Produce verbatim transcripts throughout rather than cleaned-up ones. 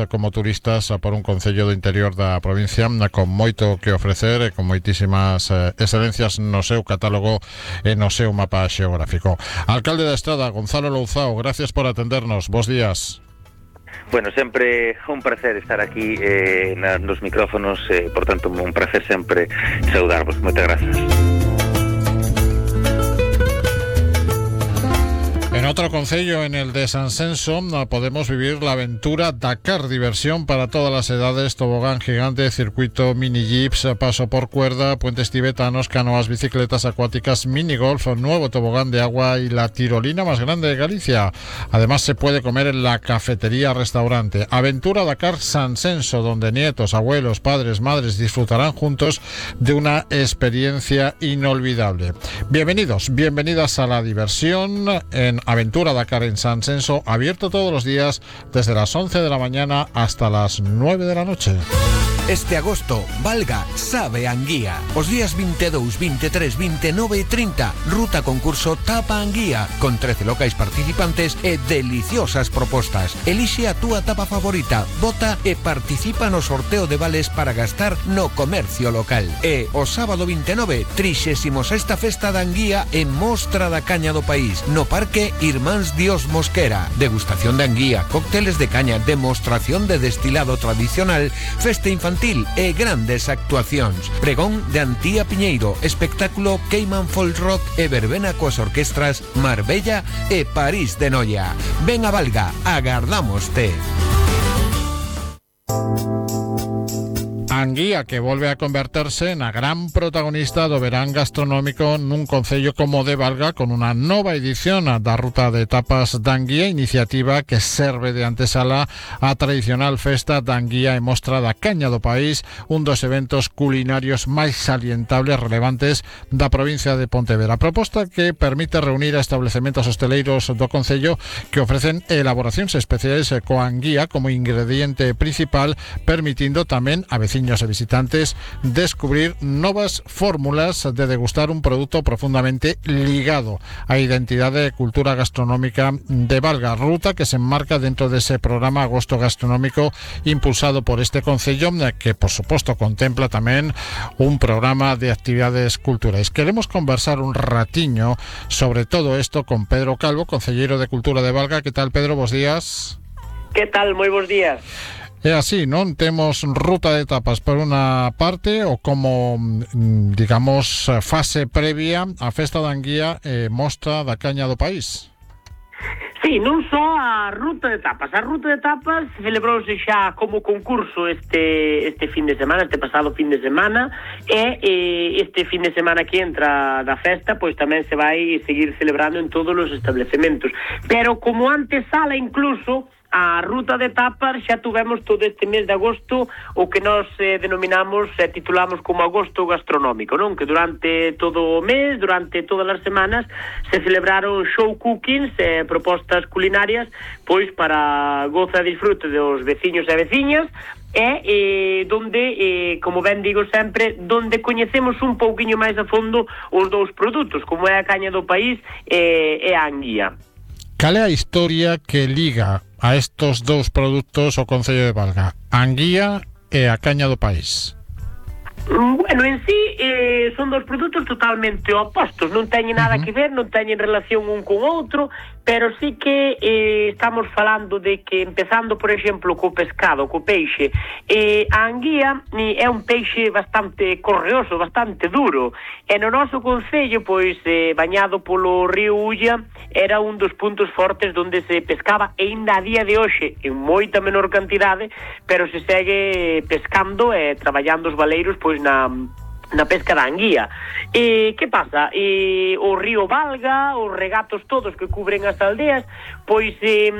como turistas por un concello do interior da provincia con moito que ofrecer e con moitísimas eh, excelencias no seu catálogo e no seu mapa xeográfico. Alcalde da Estrada, Gonzalo Louzao, gracias por atendernos. Bos días. Bueno, sempre un placer estar aquí eh, nos micrófonos, eh, por tanto, un placer sempre saudarvos. Moitas grazas. En otro concello, en el de Sansenso, podemos vivir la aventura Dakar, diversión para todas las edades, tobogán gigante, circuito mini jeeps, paso por cuerda, puentes tibetanos, canoas, bicicletas acuáticas, mini golf, nuevo tobogán de agua y la tirolina más grande de Galicia. Además se puede comer en la cafetería restaurante. Aventura Dakar Sansenso, donde nietos, abuelos, padres, madres disfrutarán juntos de una experiencia inolvidable. Bienvenidos, bienvenidas a la diversión en Aventura Dakar en Sansenso, abierto todos los días desde las once de la mañana hasta las nueve de la noche. Este agosto, Valga sabe Anguía. Os días veintidós, veintitrés, veintinueve e trinta, ruta concurso Tapa Anguía, con trece locais participantes e deliciosas propostas. Elixe a túa tapa favorita, vota e participa no sorteo de vales para gastar no comercio local. E o sábado veintinueve, trixésima sexta festa da Anguía e mostra da caña do país, no Parque Irmáns Dios Mosquera. Degustación de Anguía, cócteles de caña, demostración de destilado tradicional, festa infantil e grandes actuacións. Pregón de Antía Piñeiro, espectáculo Cayman Folk Rock e verbena coas orquestras Marbella e París de Noia. Ven a Valga, agardámoste. Anguía, que volve a converterse na gran protagonista do verán gastronómico nun concello como de Valga, con unha nova edición da ruta de tapas da Anguía, iniciativa que serve de antesala á tradicional festa da Anguía e mostra da caña do país, un dos eventos culinarios máis salientables relevantes da provincia de Pontevedra. Proposta que permite reunir a establecementos hosteleiros do concello que ofrecen elaboracións especiais coa Anguía como ingrediente principal, permitindo tamén a veciños e visitantes descubrir novas fórmulas de degustar un produto profundamente ligado á identidade e cultura gastronómica de Valga, ruta que se enmarca dentro dese programa Agosto Gastronómico impulsado por este concello, que por suposto contempla tamén un programa de actividades culturais. Queremos conversar un ratiño sobre todo isto con Pedro Calvo, concelleiro de Cultura de Valga. Que tal, Pedro? Bos días. Que tal? Moi bons días. É así, non? Temos ruta de tapas por unha parte ou como, digamos, fase previa a festa da Anguía e mostra da caña do país. Sí, non só a ruta de tapas. A ruta de tapas celebrouse xa como concurso este este fin de semana, este pasado fin de semana, e, e este fin de semana que entra da festa, pois tamén se vai seguir celebrando en todos os establecementos. Pero como antesala incluso a ruta de tapas xa tuvemos todo este mes de agosto o que nós eh, denominamos e eh, titulamos como Agosto Gastronómico, non? Que durante todo o mes, durante todas as semanas se celebraron show cookings, eh, propostas culinarias, pois para goza e disfrute dos veciños e veciñas, e eh, donde, eh, como ben digo sempre, donde coñecemos un pouquiño máis a fondo os dous produtos, como é a caña do país eh, e a Anguía. Cal é a historia que liga a estos dous produtos o concello de Valga, a Anguía e a caña do país? Bueno, en sí eh, son dos produtos totalmente opostos, non teñen nada uh-huh. que ver, non teñen relación un con outro, pero sí que eh, estamos falando de que, empezando por exemplo co pescado, co peixe, eh, a Anguía eh, é un peixe bastante correoso, bastante duro, e no noso concello, pois, eh, bañado polo río Ulla, era un dos puntos fortes onde se pescaba, e ainda a día de hoxe en moita menor cantidade, pero se segue pescando e traballando os valeiros, pois, na na pesca da Anguía. E que pasa? E o río Valga, os regatos todos que cubren as aldeas, pois eh,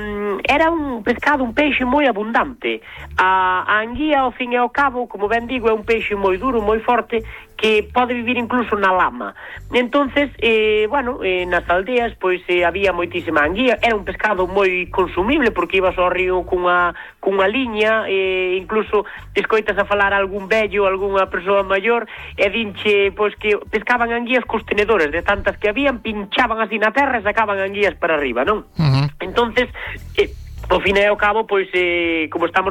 era un pescado, un peixe moi abundante. A, a Anguía, ao fin e ao cabo, como ben digo, é un peixe moi duro, moi forte, que pode vivir incluso na lama. Entonces, eh, bueno, eh, nas aldeas, pois eh, había moitísima anguía, era un pescado moi consumible, porque ibas ao río cunha, cunha liña, eh, incluso escoitas a falar algún vello, algunha persoa maior, e dinche, pois que pescaban anguías cos tenedores, de tantas que habían, pinchaban así na terra e sacaban anguías para arriba, non? Uh-huh. Entonces, eh, ao fin e ao cabo, pois, eh, como estamos